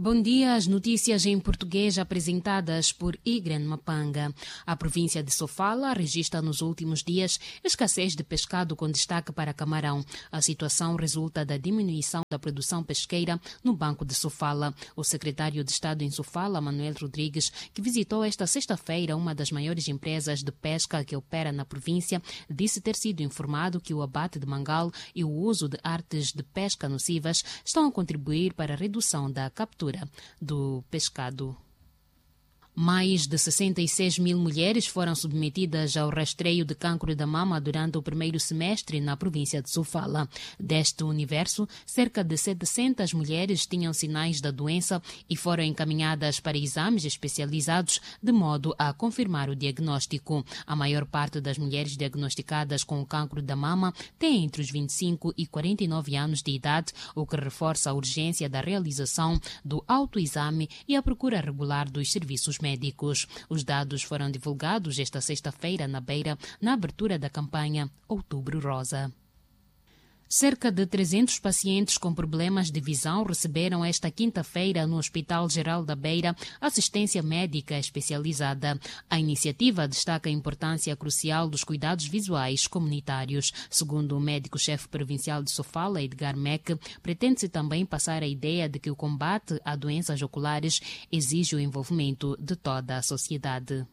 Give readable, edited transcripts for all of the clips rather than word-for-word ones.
Bom dia, as notícias em português apresentadas por Igren Mapanga. A província de Sofala registra nos últimos dias escassez de pescado com destaque para camarão. A situação resulta da diminuição da produção pesqueira no Banco de Sofala. O secretário de Estado em Sofala, Manuel Rodrigues, que visitou esta sexta-feira uma das maiores empresas de pesca que opera na província, disse ter sido informado que o abate de mangal e o uso de artes de pesca nocivas estão a contribuir para a redução da captura do pescado. Mais de 66 mil mulheres foram submetidas ao rastreio de cancro da mama durante o primeiro semestre na província de Sofala. Deste universo, cerca de 700 mulheres tinham sinais da doença e foram encaminhadas para exames especializados de modo a confirmar o diagnóstico. A maior parte das mulheres diagnosticadas com o cancro da mama tem entre os 25 e 49 anos de idade, o que reforça a urgência da realização do autoexame e a procura regular dos serviços médicos. Os dados foram divulgados esta sexta-feira na Beira, na abertura da campanha Outubro Rosa. Cerca de 300 pacientes com problemas de visão receberam esta quinta-feira no Hospital Geral da Beira assistência médica especializada. A iniciativa destaca a importância crucial dos cuidados visuais comunitários. Segundo o médico-chefe provincial de Sofala, Edgar Meck, pretende-se também passar a ideia de que o combate a doenças oculares exige o envolvimento de toda a sociedade.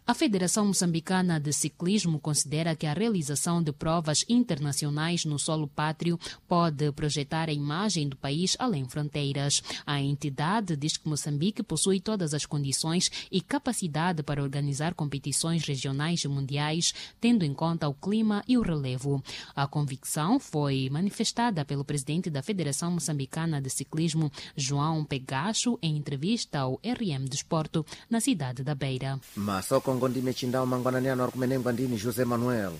A Federação Moçambicana de Ciclismo considera que a realização de provas internacionais no solo pátrio pode projetar a imagem do país além fronteiras. A entidade diz que Moçambique possui todas as condições e capacidade para organizar competições regionais e mundiais, tendo em conta o clima e o relevo. A convicção foi manifestada pelo presidente da Federação Moçambicana de Ciclismo, João Pegacho, em entrevista ao RM Desporto, na cidade da Beira. Masoko ndime chindao mangwanani ano ari kumenengwa ndini José Manuel.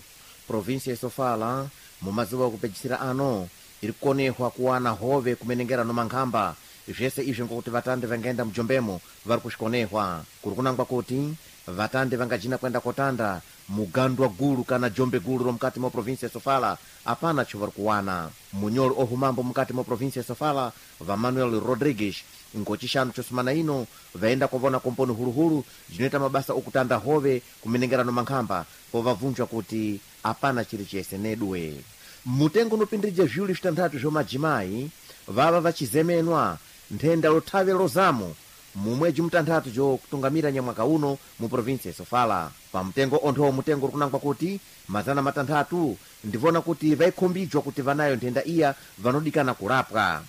Província ya Sofala mumazuva okupedzisira ano iri kukonehwa kuwana hove kumenengera no mankhamba. Zvese izvi ngokuti vatandi vangaenda mujombemo vari kusvikonehwa. Kuri kunangwa kuti vatandi vangajina kuenda kotanda mugandwa gulu kana jombe gulu romukati mwa província ya Sofala apana cho vari kuwana. Munyoli ohumambo mukati mwa província ya Sofala va Manuel Rodrigues ngochixanu chosumana ino vaenda kovona komponi huluhulu jinoita mabasa okutanda hove kumenengera no mankhamba povabvunjwa kuti apana chiri chese nedwe. Mutengo unopindirija zviwiri zvitanthatu zvomajimayi vava vachizemenwa nthenda lothave lozamo mumwedzi mutanthatu jokutungamira nyamwaka uno mu província ya Sofala. Pamutengo onthowo mutengo uri kunangwa kuti 600 ndivona kuti vaikhumbijwa kuti vanayo nthenda iya vanodikana kurapwa.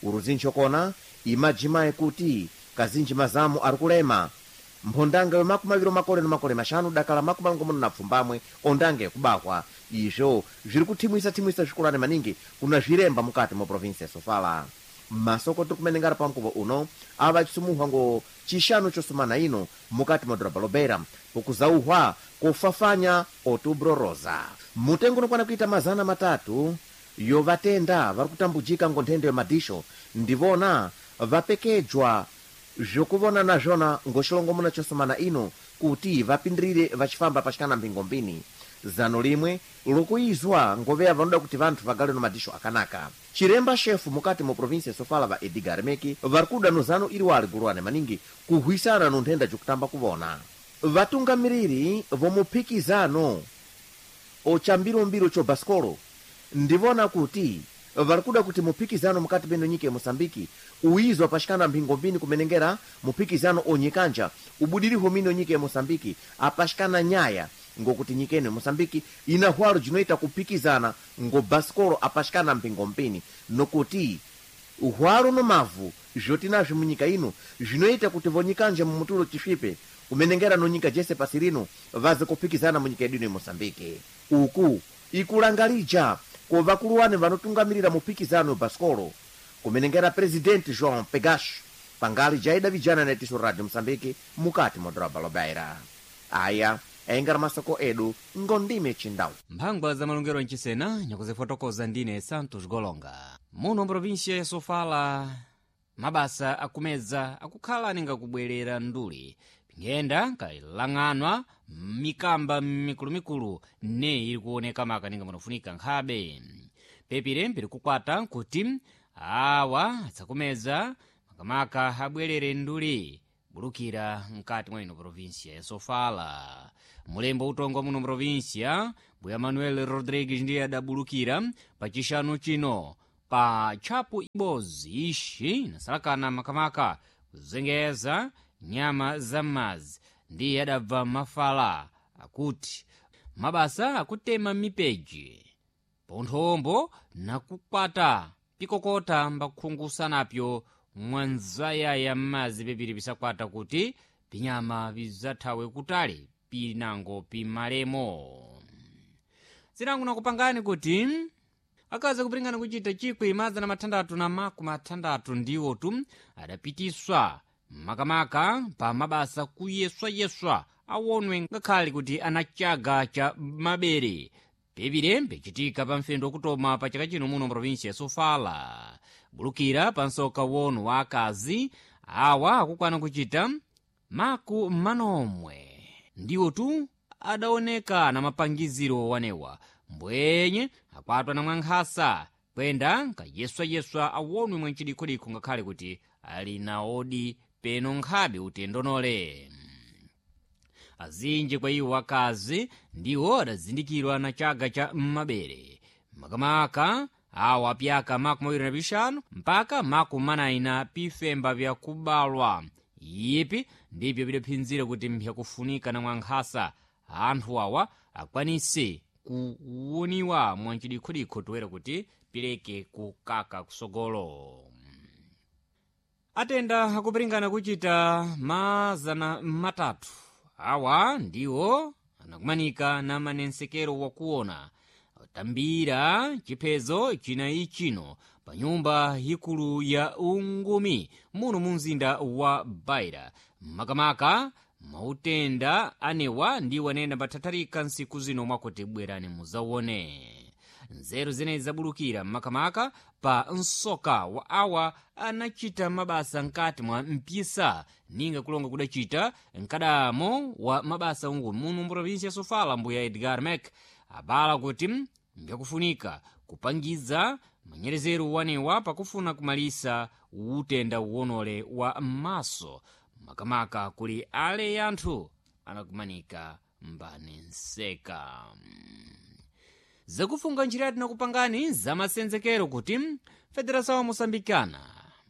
Uruzinji kona imajimayi kuti kazinji mazamu ari kulema mphondanga yo 20 makore no makore 5 dakala 78 ondange yakubahwa. Izvo zviri kuthimwisa-thimwisa zvikulani maningi kuna zviremba mukati mwa província ya Sofala. Masoko tiri kumenengera pamkuvo uno ava achisumuhwa ngo chixanu chosumana ino mukati mwa dhorobha lobeira pokuzauhwa kofafanya Outubro Rosa. Mutengo unokwana kuita 300 yo vatenda vari kutambujika ngo nthenda yo madisho ndivona vapekejwa zvokuvona nazvona ngo xilongomuna chosumana ino kuti vapindirire vachifamba pachikana mphingombini. Zano limwe lokuizwa ngoveya vanoda kuti vanthu vagale no madisho akanaka. Chiremba shefu mukati mu província ya Sofala va Edgar Meki vari kuda no zano iri wali guluwane maningi kuhwisana no nthenda jokutamba kuvona. Vatungamiriri vomuphikizano ochambirombiro cho basikolo ndivona kuti vari kuda kuti muphikizano mukati meno nyika ya Moçambike uizwa pachikana mphingombini kumenengera muphikizano onyikanja ubudirihwo mino nyika ya Moçambike apachikana nyaya ngokuti nyika ino ya Moçambike ina hwalo jinoita kuphikizana ngo basikolo apachikana mphingombini nokuti hwalo no mavu zvotinazvo munyika ino zvinoita kuti vonyikanja mumutulo chisvipe kumenengera no nyika jese pasi rino vaze kuphikizana munyika yedu ino ya Moçambike. Uku ikulangalija ko vakuluwane vanotungamirira muphikizano basikolo kumenengera presidente João Pegacho pangali jaida vijana na itiso Radio Moçambique mukati mwa dhorobha lobeira. Aya engera masoko edu ngondime chindau. Mphangwa za malongero mchisena nyakuzifotokoza ndine Santos Golonga. Muno mprovinsia ya Sofala mabasa akumedza akukhala ninga kubwerera nduli pinkhenda kalang'anwa mikamba mikulumikulu ne ili kuoneka maka ninga munafunika nkhabe pepire mpiri kukwata nkuti awa atsakumedza Makamaka abwerere nduli bulukira mkati mwa ino provinsia ya Sofala. Mulembo utongwa muno provinsia Mbuya Manuel Rodrigues ndiye adabulukira pachixanu chino pa tchapu ibodzi ixi inasalakana makamaka kuzengeza nyama za m'madzi, ndiye adabva mafala akuti mabasa akutema mipeji ponthombo nakukwata pikokota mbakukhungusanapyo mwanzayaya m'madzi pepiri pisakwata kuti pinyama bizathawe kutali pinango pimalemo. Zinango nakupangani kuti akazi akupiringana kuchita 1660 ndiwo tu adapitiswa makamaka pa mabasa kuyeswayeswa awonwe ngakhale kuti anachaga cha mabere pepire mpichitika pa mfendo wakutoma pa chaka chino muno mprovinsia ya Sofala. Bulukira pa msoka wono wa akazi awa akukwana kuchita maku manomwe ndiwo tu adaoneka na mapangiziro wanewa mbwenye akwatwa na mwankhasa kwenda nkayeswayeswa awonwe mwancidikhudikho ngakhale kuti ali na odi peno nkhabe utendonole. Azinji kwa iwo akazi ndiwo adazindikirwa na chaga cha m'mabere makamaka awa pyaka 25 mpaka 40 pifemba vyakubalwa ipi ndipyo bidaphinzira kuti mpyakufunika na mwankhasa anthu awa akwanise kuwoniwa mwancidikhudikho toera kuti pileke kukaka kusogolo. Atenda akupiringana kuchita 300 awa ndiwo anakumanika na manensekero wakuona tambira chiphezo chinayi chino pa nyumba ikulu ya ungumi muno mu mzinda wa Baira. Makamaka mautenda anewa ndiwo anayenda mpathatharika nsiku zino mwakuti bwerani muzawone. Nzeru zenezi zabulukira makamaka pa msoka wa awa anachita mabasa mkati mwa mpisa ninga kulonga kudachita mkadamo wa mabasa ungumi muno mprovinsia ya Sofala. Mbuya Edgar Mek abala kuti mbyakufunika kupangiza manyerezero wanewa pakufuna kumalisa utenda uwonole wa maso makamaka kuli ale anthu anakumanika mbanenseka. Zakufunga njira tinakupangani zamasenzekero kuti Federação wa Moçambicana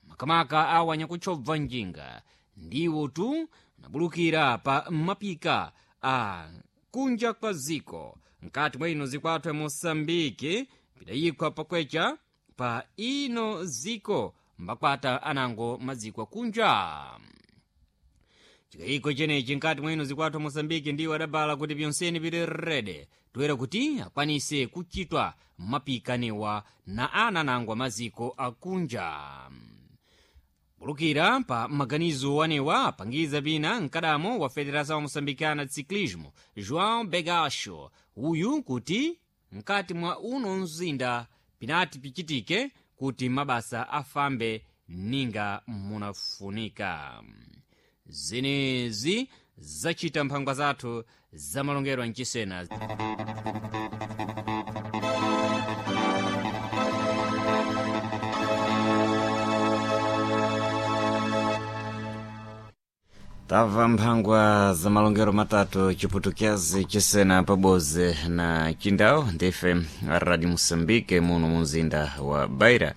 makamaka awa nyakutchobva njinga ndiwo tu anabulukira pa mapika a kunja kwa ziko mkati mwa ino zikwathu ya Moçambique pidayikhwa pakwecha pa ino ziko mbakwata anango maziko akunja. Chikayiko chenechi nkati mwa ino zikwathu Moçambique ndiwo adabala kuti pyonseni pili rede toera kuti akwanise kuchitwa mapikanewa na ana nangwa maziko akunja. Bulukira pa maganizo wanewa apangiza pina mkadamo wa Federação Moçambicana de Ciclismo João Begacho uyu kuti mkati mwa uno mzinda pinati pichitike kuti mabasa afambe ninga munafunika. Zenezi zachita mphangwa zathu zamalongero mchisena. Tamva mphangwa za malongero matatu chiputukezi chisena paboze na chindau ndife Radio Moçambique muno mumzinda wa Beira.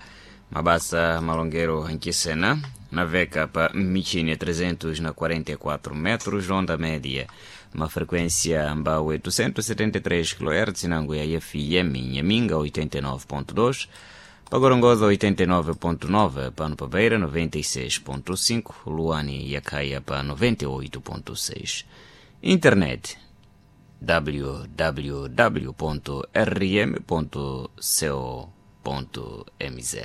Mabasa malongero nchisena naveka pa michini ya 344 metros onda média, uma frequência mba 873 kHz nango ya FM Nhaminga 89.2, Pagorongosa 89.9, pano pa Beira 96.5, Luani ya Caia pa 98.6. Internet www.rm.co.mz.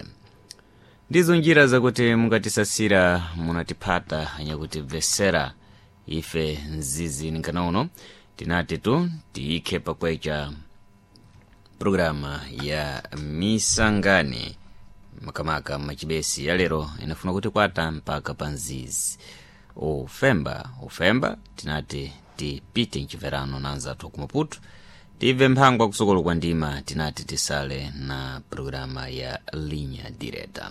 Ndizo njira zakuti mungatisasira munatipata nyakutibvesera ife nzizi ninkanauno tinati tu tiikhe pakwecha programa ya misangani makamaka machibesi ya lero inafuna kuti kwata mpaka pa nzizi ufemba ufemba tinati tipite mchiverano na anzathu ku Maputo tibve mphangwa kusokolo kwa ndima tinati tisale na programa ya linha direta.